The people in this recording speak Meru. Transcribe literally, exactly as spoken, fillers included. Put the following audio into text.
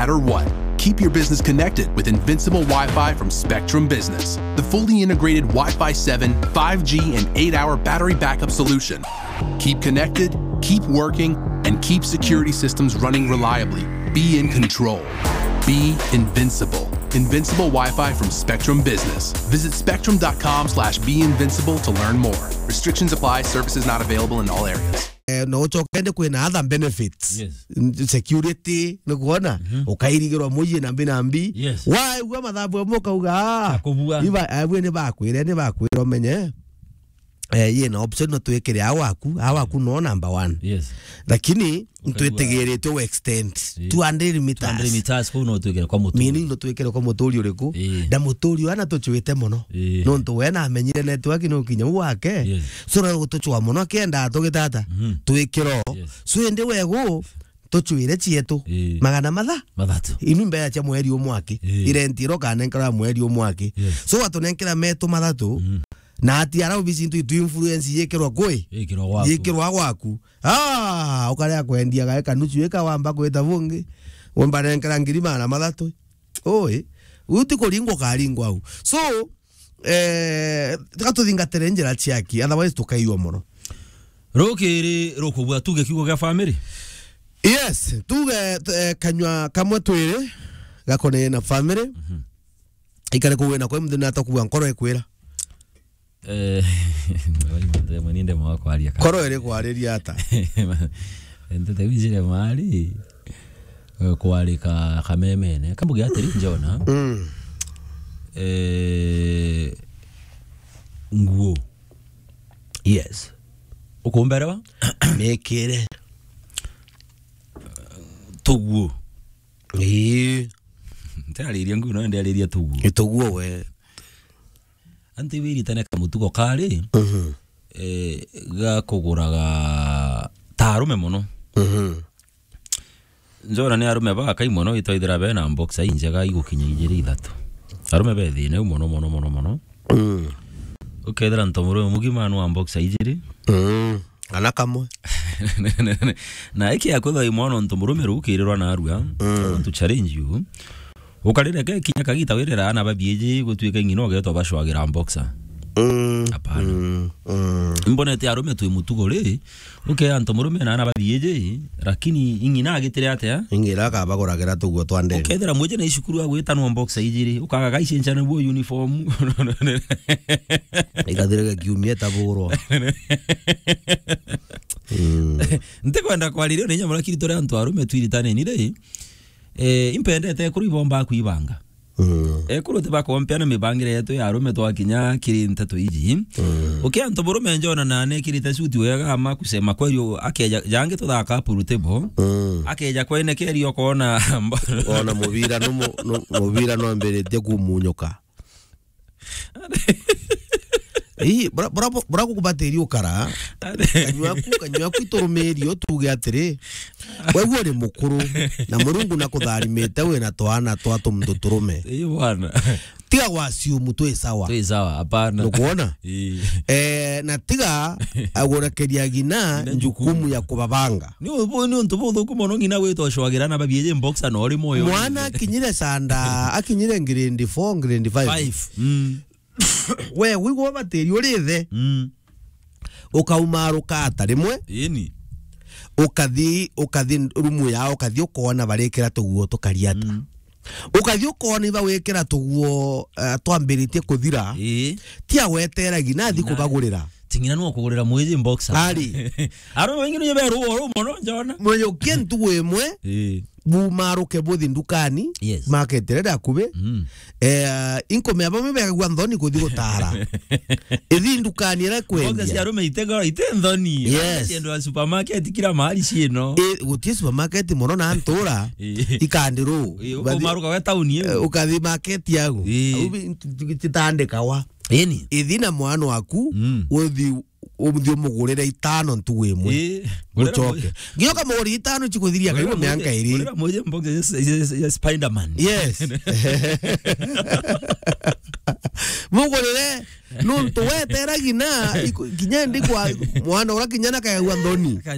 matter what. Keep your business connected with Invincible Wi-Fi from Spectrum Business, the fully integrated Wi-Fi seven, five G, and eight-hour battery backup solution. Keep connected, keep working, and keep security systems running reliably. Be in control. Be invincible. Invincible Wi-Fi from Spectrum Business. Visit spectrum dot com slash be invincible to learn more. Restrictions apply. Services not available in all areas. Eh, no ucoke ndi kwina other benefits. Yes. N-, security, ni kuona? Mhm. Ukairigirwa muyi na mbi na mbi. Yes. Waigua mathabu amwe ukauga, "Ah, Akubua. Iba, abwe ni bakwire, ni bakwire umenye." Eh, yina option no twikire a waku, a waku no number one. Yes. Lakini Ukaigua. Ntwitigiritwe u extend Eh. two hundred meters. Two hundred meters, kuu no twikire kwa muturi. Meaning no twikire kwa muturi uriku? Eh. Na muturi ana tucwite muno. Eh. Nontu we na amenyire network no kinya u wake. Yes. So na gutucwa muno kenda tugitata. Mhm. Twikiro. Yes. So indi wegu tucwire cietu. Eh. Magana matha? Mathatu. Inu mbea cia mweri umwe aki. Eh. Irenti iro kanenkera mweri umwe aki. Yes. So watunenkera metu mathatu. Mhm. Na ati ara obici ntu itu influence yikirwa kwi? Yikirwa gwaku. Yikirwa gwaku. Ah, ukarea kwendia gae kanucu ika wamba kwita bungi. Wamba nenkera ngiri magana mathatu. Oi, uti kuringwa ukaringwa au. So, eh, tiga tuthingatire njira ciaki, otherwise tukaiywa muno. Rukiri rukubua tuge kiugo gia family? Yes, tuge, eh, kanywa kamwe twiri gakone na family. Mhm. Ikare kuwe na kwa mthina atakubua nkoro ikwira. Eh, mwe ninde mwa kwaria ka. Koro iri kwariria ata? Ntete wijire mari, eh, kwarika kamemene. Kambuge atiri, Njona. Mm. Eh, nguo. Yes. Ukumberewa? Mikire. Tuguo. Ii. Ntirariria nguo, no ndiariria tuguo. Ni tuguo we. Anti wiritane kamutugo kari, Mhm. eh, ga kuguraga ta arume mono. Mhm. Njona ni arume bakai mono, itwaithira bena boxer injega igukinya ijiri ithatu. Arume be thina iu mono, mono, mono, mono. Mm. Ukethira ntomurume mugima anwa boxer ijiri. Mm. Ana kamwe. Na iki ya kwithwa imwana ntomurume rukirirwa narua, Mm. to challenge you. Ukarire ke kinya kagita wirira ana babiiji gutuika ing'ina ugetwa bacwagira boxer. Mm. Hapana. Mm. Mm. Mbonete arume twi mutugo ri, uke antu murume na ana babiiji, lakini ing'ina agitire atia? Ing'ina akabaguragira tuguo twa ndege. Ukethira mwiji na icukuru agwitanwa boxer ijiri, ukaga gaicenjana buo uniform. Igathire kiumia taburo. Mm. Ntikwenda kwaririo ni nyamara kiri turi antu arume twiritaneni ri. Eh, impendete ekuru ibomba kwibanga. Mm. Ekuru tibakompea na mibangire yetu ya arume twakinya kiri nteto iji. Mm. Ukia antu burume njona na nekirite suti wega ama kusema kweli u-, akeja jangi tuthaka pool table. Mm. Akeja kwene keri okona mbo-, Ona mubira no mu-, no, mubira no ambiritie kumunyuka. Ii, bura, bura, bura gukubatiri ukara. Kanywaku, kanywaku iturumiri utuge atiri, we uri mukuru, na Murungu nakutharimite wina twana twa tumuntu turume. Ii, bwana. Tiga gwasiumu twi sawa. Twi sawa, hapana. Nukwona? Ii. Eh, na tiga agurekeria ng'ina Ng'ina njukumu jukumu. Ya kubabanga. Ni u-, ni untu buthuku mono ng'ina gwitwa cwagira na babiiji boxer na uri moyo. Mwana akinyire sanda, akinyire grade four, grade five. Five. Mm. We, wigwa ubatiri uri ithe. Mm. Ukauma rukata rimwe. Ini. Ukathi, ukathi rumu yao, ukathi ukona barikira tuguo tukariata. Mm. Ukathi ukona iba wikira tuguo, eh, twambiritie kuthira. Ii. Tia weteragi, nathi Na kubagurira. Ting'ina no kugurira mwiji boxer. Ari. Aro wengi nyo beru oro mono njona. Mweyo kentu wemwe. Ii. Bumaruke buthi ndukani. Yes. Market ria akubi. Mm. Eh, inkomea bamwe begagua nthoni kuthi gutara. Ithi ndukani ira kwendia. Boxer cia arume itego, ite nthoni. Yes. Ciendo ya supermarket kila mahali cieno. Eh, gutie supermarket mono na ntura. Ii. Ikandi ru. Ii, ukathi-, ukomaruka we town iyo. Eh, ukathi market yagu. Ii. Au bi-, tu-, tu-, tutandikawa. Ini. Ithi na mwana waku, Mm. uthi, uthi umugurire itano ntugu imwe. Ii. Mucoke. Nginya ukamugurira itano cikuthiria karibu mianka iri. Gurira mwiji boxer ya, ya, ya, ya Spider-Man. Yes. Mugurire, nuntu weteragi na, iku-, kinya ndi kwa mwana ura kinya na kayagua nthoni.